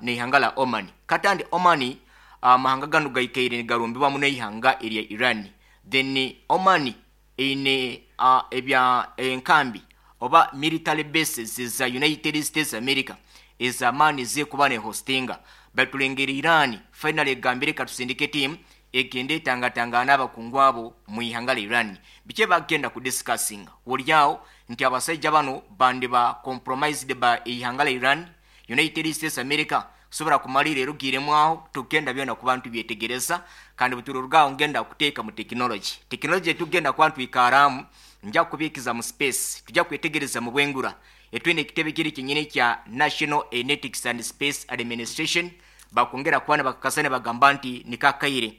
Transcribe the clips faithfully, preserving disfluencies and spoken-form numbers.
N'ihanga la Oman. Katandi Oman, amahanga ganu gaikaire nigarumbibwamu n'ihanga erya Iran. Then Oman eine uh, ebya enkambi oba military bases za United States America ez'amaani zekuba ne hostinga. Batulengera Iran finally egambire, katusindike team egende etangatangana n'abakungu abo mu ihanga la Iran. Biki bagenda ku discussinga? Olyawo nti abasajja bano bandiba compromised ba ihanga la Iran, United States America kusobola kumalira erugiremu aho. Tugenda byona kuba ntubyetegereza, kandi buturugaho ngenda kuteeka mu tekinology. Tekinology tugenda kuba ntwikaramu, nja kubikiza mu space, tujja kwetegereza mu bwengura. Etwine ekitebe kiri kinyini kya National Aeronautics and Space Administration bakongera kuba bakakasa ne bagamba nti nikakaire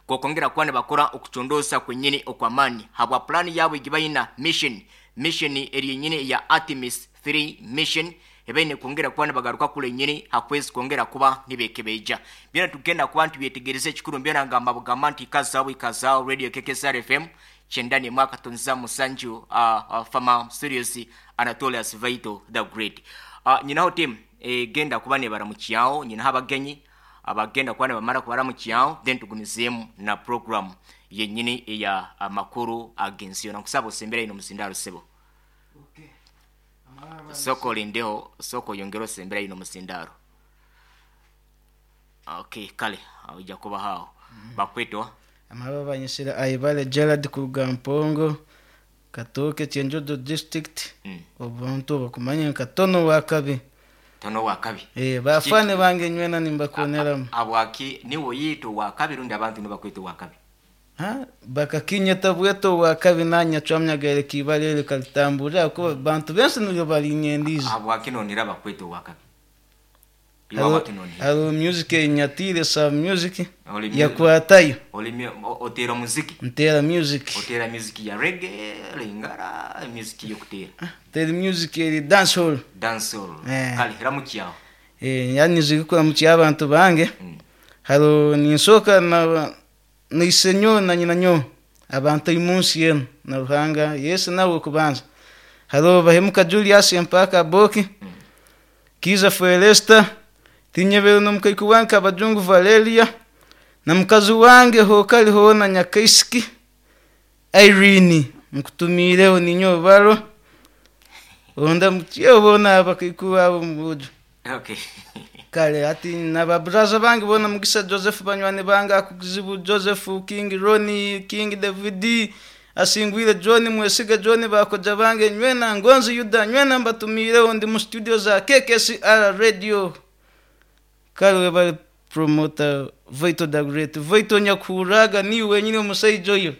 kokongera kuba bakora okucondosa kwenyini okwamaani habwa plani yabwe gibayina mission mission eri yenyini ya Artemis three mission ebaine kwongera kuba nibagaruka kule nyini hakwezi kwongera kuba nibekebeja. Byona tugenda kuba ntibyetegereza. Ekikuru byona ngamba bugamba nti ikazaawo, ikazaawo radio K K S R F M kyenda mwaka tonza musanju. uh, uh, fama studios, Anatolius Vital the Great. uh, nyinaho team egenda kuba nebaramukyawo, nyinaho abagenyi abagenda kuba nibamara kubaramukyawo, then tugumizeemu na program yenyini eya amakuru ag'ensi yona. Nkusaba osembera ino muzindaro, sebo. Soko olindeho, soko oyongere osembera ino muzindaro. Okay, kale ojja kuba haawo bakwetwa. Amaba banyisira Aibale Gerard kuruga Mpongo, Katooke, Kyenjojo District. Mm. Obuntu bakumanya nka Tono Wakabi. Tono Wakabi. Eh, bafane bange nywena nimbakoneramu. Abwaki niwe yiito Wakabi rundi abantu nibakweta Wakabi? Ha, bakakinyeta bweto Wakabi, nanya cwamnyagaire kibalere kalitambura kuba bantu benshi niryo balinyendize. Abwaki nonera bakweta Wakabi? Haro haro music enyatire sa music Oli mu- yakwatayo. Oli otera muziki? Ntera music. Otera music ya reggae, lingara, music yokutera? Tera music eri dancehall. Dancehall. Eh. Kale ramukyawo. Eh, yani kuramukya abantu bange. Mm. Haro ninsoka na naisenyo na nyina nyo abantu imunsi yenu na Ruhanga Yesu nawe kubanza. Haro Bahemuka Julius Empaka Boki, Kiza Felesta Tinyebero, nomukaiku wange Abajungu Valeria, na mukazi wange hokali hona Nyakaisiki Irene, nkutumireho ninyo baro onda mutyo bona abakaiku abo mubujo. Okay kale ati nababuraza bange bona, Mugisa Joseph, banywani bange Akuzibu Joseph, King Roni, King David, Asingwire John, Mwesiga John, bakoja bange nywena, Ngonzi Yuda, nywena mbatumireho. Ndi mu studio za K K S R Radio. Kale bali promoter Vito the Great, Vito nyakuraga ni wenyine omusajja oyo.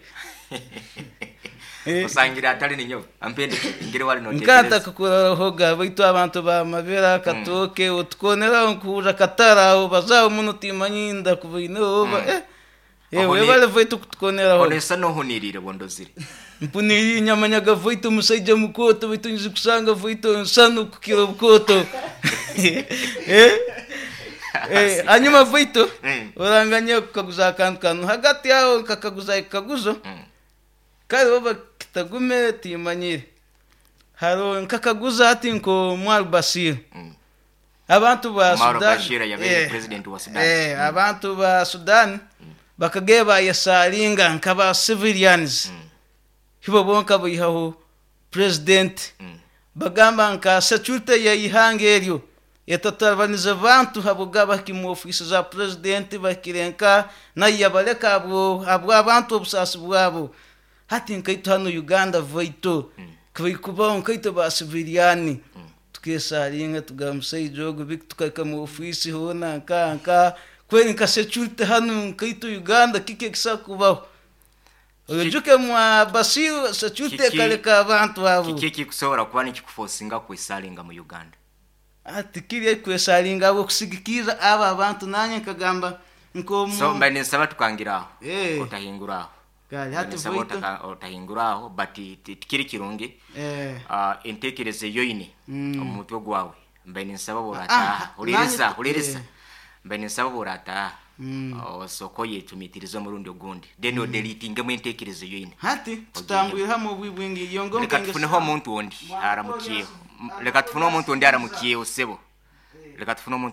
Eh. Osangira atali ninyo ampende ngere wali Nkata notekereza. Kukurarahoga baitu abantu bamabera Katooke otukoneraho nkuhurra kataraho bazaho muno timanyi ndakubaine oba eh eh Aho ni- webale vaitu kutukoneraho. Onesa nohunirire bondozire. Mpuniri nyamanyaga vaitu omusajja mukoto, baitu nyizi kusanga vaitu nsano kukira obukoto. eh eh hanyuma vaitu Mm. oranganya kukaguza akantu kanu hagati yaho nkakaguza ekikaguzo. Mm. Kale oba kitagume timanyire, haro nkakaguza ati nko Omar Bashir. Mm. Abantu ba Omar Sudan Bashir yabaire eh, president wa Sudan. eh, abantu ba Sudan bakageye bayesaringa nkaba civilians. Mm. Hibo bonka baihaho president. Mm. Bagamba nka security ya ihanga eryo etatarabaniza bantu habuga baki mu ofisi za president bakirenka nayo yabaleka abo abo abantu obusasi bwabo. Hati nkaitu hano Uganda vaito kubaho nkaito ba civilian tukesaringa tugamba musaija ogu biki tukaika mu ofisi hona nka nka kweri nka security hano nkaito Uganda kiki ekisa kubaho ojuke mwa Basiru security Kiki- ekaleka abantu abo. Kiki ekikusobola kuba nikikufosinga kwesalinga mu Uganda? Ati kiri kwesalinga abo kusigikira abo abantu nanye nkagamba nkomu. So mba nensaba tukangiraho. Eh. Otahinguraho. Kale hati Nensaba voito otaka- otahinguraho, but ti- tikiri kirungi. eh uh, entekereza eyoine Mm. omu mutwe gwawe, mba ninsaba Ah, borataha huliriza nanye- huliriza. eh. Mba ninsaba borataha Mm. osooka oyecumitirize omurundi ogundi, then odelitingemu entekereza eyoine. Hati tutambwire hamwe obwibwingi iyo ngo. Leka tufuneho omuntu ondi aramukiyeho. M- leka tufune omuntu ondi aramukiyeho, sebo. Leka tufune omuntu.